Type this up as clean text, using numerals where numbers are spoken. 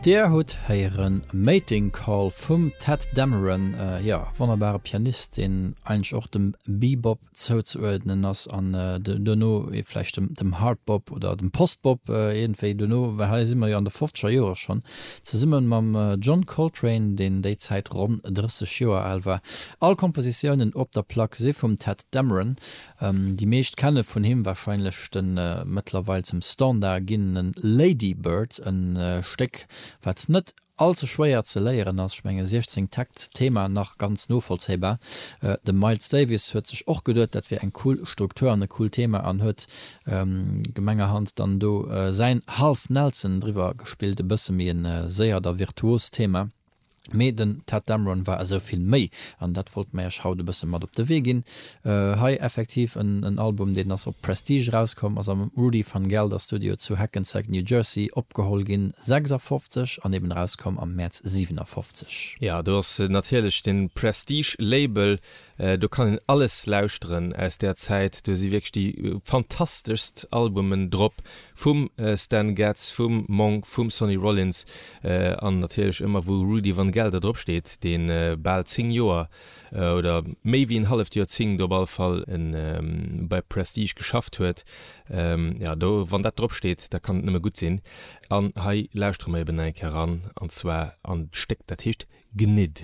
Dir hutt héieren Mating Call vum Tadd Dameron, jo, wonnerbare Pianist, deen eigentlech och dem Bebop zouzeuerdnen ass an duerno vläicht dem Hardbop oder dem Postbop iergendwéi duerno, well hei si mer jo an de fofzeger Joere schonn, zesumme mam John Coltrane, deen déi Zäit ronn 30 Joer al war. All Kompositiounen op der Plack si vum Tadd Dameron. Déi meescht kenne vun him warscheinlech de mëttlerweil zum Standard ginnene Lady Bird, e Stéck wat net all ze schwéier ze léieren ass, ech menge 16 Takt, Thema nach ganz novollzéibar. De Miles Davis huet sech och geduet dat wier eng cool Struktur an e coolt Thema an huet gemengerhand dann do säin Half Nelson driwwer gespillt, e bësse méi e séiert a virtuost Thema. Mee den Tadd Dameron war esou vill méi, an dat wollte mer iech haut e bësse mat op de Wee ginn. Hei effektiv en Album, deen ass op Prestige erauskomm, ass am Rudy Van Gelder Studio zu Hackensack, New Jersey opgeholl ginn, 56, an eben erauskomm am Mäerz 57. Jo, do ass natierlech den Prestige Label, do kann een alles lauschteren aus där Zäit. Do si wierklech déi fantasteschst Albumen drop, Vum Stan Getz, vum Monk, vum Sonny Rollins an natierlech ëmmer wou Rudy Van Gelder drop steet, dee bal 10 Joer oder méi wéi en halleft Joerzéngt op all Fall bei Prestige geschafft huet. Jo, do wann dat drop steet, da kann et nëmme gutt sinn. An hei lauschtere mer eben nach eng Kéier eran, an zwar an d'Stéck dat heescht Gnid.